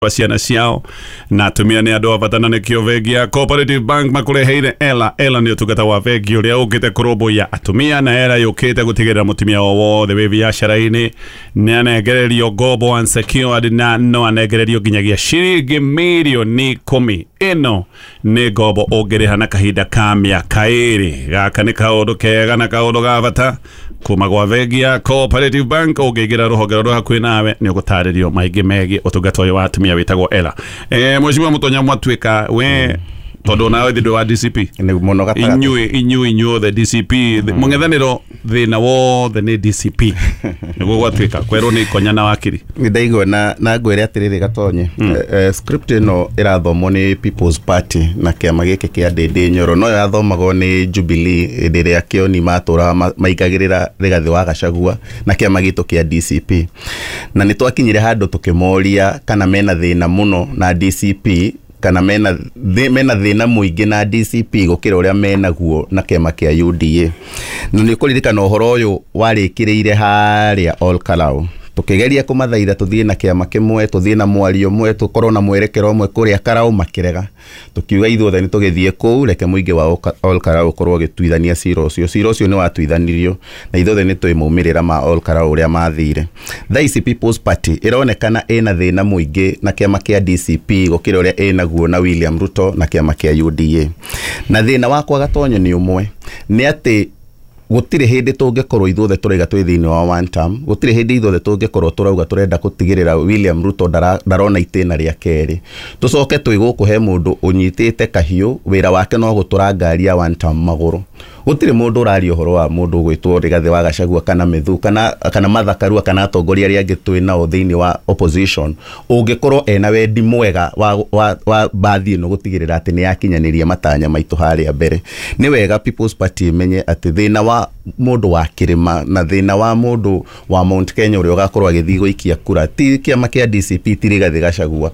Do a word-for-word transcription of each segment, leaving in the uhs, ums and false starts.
Wa ciana ciao na atumia nĩ andũ a bata, na nĩkĩo bengi ya Cooperative Bank makũreheire Ela. Ela nĩ ũtungata wa bengi ũrĩa ũkĩte kũrũmbũiya atumia, na Ela yũkĩte gũtigĩrĩra mũtumia o wothe wĩ biacara-inĩ nĩ anengererio ngombo unsecured, na no anengererio nginyagia ciringi mirioni ikũmi. Ĩno nĩ ngombo ũngĩrĩha na kahinda ka mĩaka ĩrĩ. Gaka nĩ kaũndũ kega na kaũndũ ga bata kuma gwa bengi ya Cooperative Bank. Ũngĩingĩra rũhonge rũrĩa hakuhĩ nawe, nĩ ũgũtarĩrio maingĩ megiĩ ũtungata ũyũ wa atumia wĩtagwo Ela. eh, Mheshimiwa Mũtonya Mwatuĩka, we tondũ nawe thĩ wa D C P. Nĩ mũno gatagatĩ. Inyuĩ inyuĩ inyuothe D C P, mũng'ethanĩro thĩna wothe nĩ D C P, nĩguo gwatuĩka kwerwo nĩ ikonya na wakiri. Nĩ ndaigua na na ngwĩre atĩrĩrĩ, Gatonye, eh, eh, script ĩno ĩrathomwo nĩ People's Party na kĩama gĩkĩ kĩa Ndĩndĩ Nyoro, no yathomagwo nĩ Jubilee hĩndĩ ĩrĩa Kĩoni matũraga ma- maingagĩrĩra Rigathĩ wa Gachagua na kĩama gitũ kĩa D C P, na nĩ twakinyire handũ tũkĩmoria kana mena thĩna mũno na D C P, kana mena thĩ- mena thĩna mũingĩ na D C P gũkĩra ũrĩa menaguo na kĩama kĩa U D A. Na nĩ ũkũririkana ũhoro ũyũ warĩkĩrĩire harĩa Ol Kalou, tũkĩgeria kũmathaitha tũthiĩ na kĩama kĩmwe, tũthiĩ na mwario ũmwe, tũkorwo na mwerekero ũmwe kũrĩa Karau, makĩrega. Tũkiuga ithuothe nĩ tũgĩthiĩ kũu, reke mũingĩ wa Oka- Ol Kalou ũkorwo ũgĩtuithania cira ũcio. Cira ũcio nĩ watuithanirio, na ithuothe nĩ tũĩ maumĩrĩra ma Ol Kalou ũrĩa mathire. Thaa ici People's Party ĩronekana ĩna thĩna mũingĩ na kĩama kĩa D C P gũkĩra ũrĩa ĩnaguo na William Ruto na kĩama kĩa U D A. Na thĩna wakwa, Gatonyo, nĩ ũmwe, nĩ atĩ gũtirĩ hĩndĩ tũngĩkorwo ithuothe tũraiga twĩ thĩinĩ wa one term. Gũtirĩ hĩndĩ ithuothe tũngĩkorwo tũrauga tũrenda gũtigĩrĩra William Ruto ndara- ndarona itĩna rĩa kerĩ, tũcoke twĩ gũkũ he mũndũ ũnyitĩte kahiũ, wĩra wake no gũtũra ngari ya one term magũrũ. Gũtirĩ mũndũ ũraria ũhoro wa mũndũ ũgwĩtwo Rigathĩ wa Gachagua kana Methu kana kana Martha Karua kana atongoria arĩa angĩ twĩ nao thĩinĩ wa opposition ũngĩkorwo ena wendi mwega wa, wa, wa mbathi ĩno gũtigĩrĩra atĩ nĩ yakinyanĩria matanya maitũ harĩa mbere. Nĩ wega People's Party ĩmenye atĩ thĩna wa mũndũ wa kĩrĩma na thĩna wa mũndũ wa Mount Kenya ũrĩa ũgakorwo agĩthiĩ gũikia kura ti kĩama kĩa D C P, ti Rigathĩ Gachagua.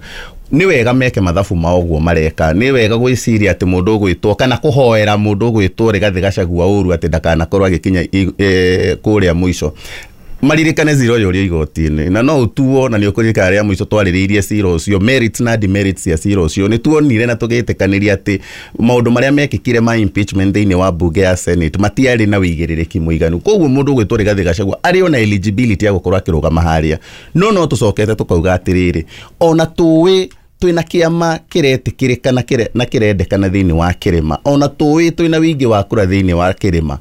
Nĩ wega meke mathabu mao ũguo mareka. Nĩ wega gwĩciria atĩ mũndũ ũgwĩtwo kana kũhoera mũndũ ũgwĩtwo Rigathĩ Gachagua ũru atĩ ndakanakorwo agĩkinya i- eh, kũrĩa mũico. Maririkane cira ũyũ ũrĩ igoti-inĩ na no ũtuo, na nĩ ũkũririkana rĩa mũico twarĩrĩirie cira ũcio, merits na demerits cia cira ũcio, nĩ tuonire na tũgĩtĩkanĩria atĩ maũndũ marĩa mekĩkire ma impeachment thĩinĩ wa bunge ya Senate matiarĩ na wĩigĩrĩrĩki mũiganu. Koguo mũndũ ũgwĩtwo Rigathĩ Gachagua arĩ ona eligibility ya gũkorwo akĩrũgama harĩa, no no tũcokete tũkauga atĩrĩrĩ, ona tũĩ twĩna kĩama kĩretĩkĩrĩka na kĩre- na kĩrendekana thĩinĩ wa kĩrĩma, ona tũĩ twĩna wĩingĩ wa kura thĩinĩ wa kĩrĩma,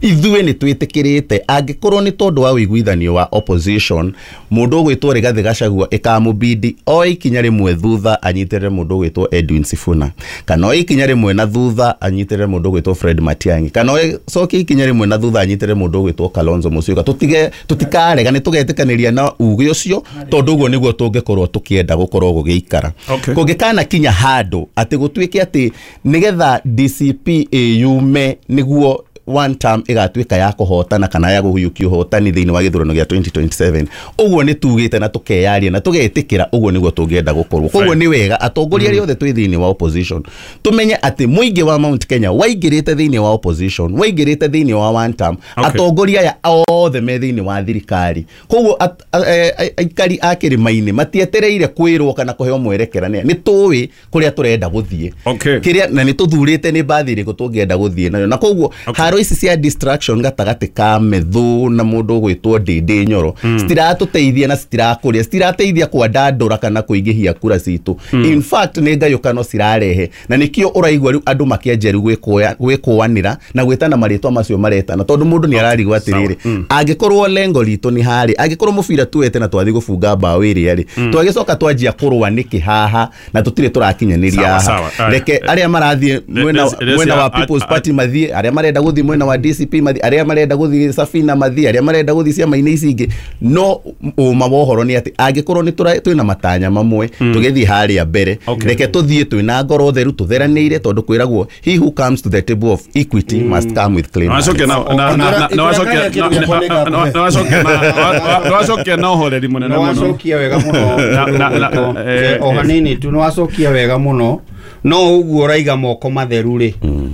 ithuĩ nĩ twĩtĩkĩrĩte angĩkorwo nĩ tondũ wa ũiguithanio wa opposition, mũndũ ũgwĩtwo Rigathĩ Gachagua ĩkamũbidi oe ikinya rĩmwe thutha anyitĩrĩre mũndũ ũgwĩtwo Edwin Sifuna, kana oe ikinya rĩmwe na thutha anyitĩrĩre mũndũ ũgwĩtwo Fred Matiang'i, kana oe cokie ikinya rĩmwe na thutha anyitĩrĩre mũndũ ũgwĩtwo Kalonzo Musyoka. Tũtige, tũtikarega, nĩ tũgetĩkanĩria na uge ũcio, tondũ ũguo nĩguo tũngĩkorwo tũkĩenda gũkorwo gũgĩikara. Okay. Kũngĩkana kinya handũ atĩ gũtuĩke atĩ nĩgetha D C P ĩyume nĩguo one term ĩgatuĩka ya kũhotana kana ya kũhiũkia ũhotani thĩinĩ wa gĩthurano gĩa twenty twenty-seven, ũguo nĩ tugĩte na tũkeyaria na tũgetĩkĩra ũguo nĩguo tũngĩenda gũkorwo. Koguo nĩ wega atongoria arĩa othe twĩ thĩinĩ wa opposition tũmenye atĩ mũingĩ wa Mount Kenya waingĩrĩte thĩinĩ wa opposition, waingĩrĩte thĩinĩ wa one term, Okay. atongoria aya othe me thĩinĩ wa thirikari. Koguo at- a- e- e- aikari a kĩrĩma-inĩ matietereire kwĩrwo kana kũheo mwerekera, nĩ nĩ tũĩ kũrĩa tũrenda gũthiĩ Okay. kĩrĩa na nĩ tũthurĩte nĩ mbathi ĩrĩkũ tũngĩenda gũthiĩ nayo. Na koguo Okay. haro ici cia distraction gatagatĩ ka Methu na mũndũ ũgwĩtwo Ndĩndĩ Nyoro citiratũteithia na citirakũria, citirateithia kwandandũra kana kũingĩhia kura citũ. In fact, nĩ ngayũkano cirarehe, na nĩkĩo ũraigua rĩu andũ makĩanjia rĩu gwĩkũya- gwĩkũanĩra na gwĩtana marĩtwa macio maretana, tondũ mũndũ nĩ ararigwo atĩrĩrĩ, angĩkorwo lengo ritũ nĩ harĩ, angĩkorwo mũbira tuwete na twathi gũbunga mbaũ ĩrĩa rĩ, twagĩcoka twanjia kũrũa nĩkĩ haha na tũtirĩ tũrakinyanĩria Sawa, haha? sawa. Aya. Reke arĩa marathiĩ mwena Resi- mwena wa a- People's a- Party mathiĩ, arĩa marenda gũthiĩ mwena wa D C P mathiĩ, arĩa marenda gũthiĩ Safina mathiĩ, arĩa marenda gũthiĩ ciama-inĩ ici ingĩ. No ũma wa ũhoro nĩ atĩ angĩkorwo nĩ tũra- twĩna matanya mamwe tũgĩthiĩ harĩa mbere, Okay. reke tũthiĩ twĩna ngoro theru, tũtheranĩire, tondũ kwĩragwo, "He who comes to the table of equity must come with clean hands." Wacokia na na na na wacokia na na wacokia na wacokia na ũhoreri mũnene nĩ mũno. Wacokia wega mũno. Na- na- na- eh, O hanini tu, nĩ wacokia wega mũno. No ũguo ũraiga moko matheru rĩ,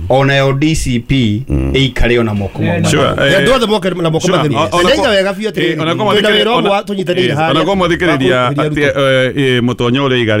onayo D C P ĩikare ona moko mau. Sure, eh, Andũ othe moke na moko Sure, matheru. o- ona Ndaiga ko- wega biũ eh, atĩrĩrĩ, ona ko twĩna mathikĩrĩ- wĩra ũmwe ona- tũnyitanĩire eh, harĩa ona ko mathikĩrĩria wa kũrũĩrĩria atĩ, Ruto. eh, eh, mũtonyo ũrĩa iga.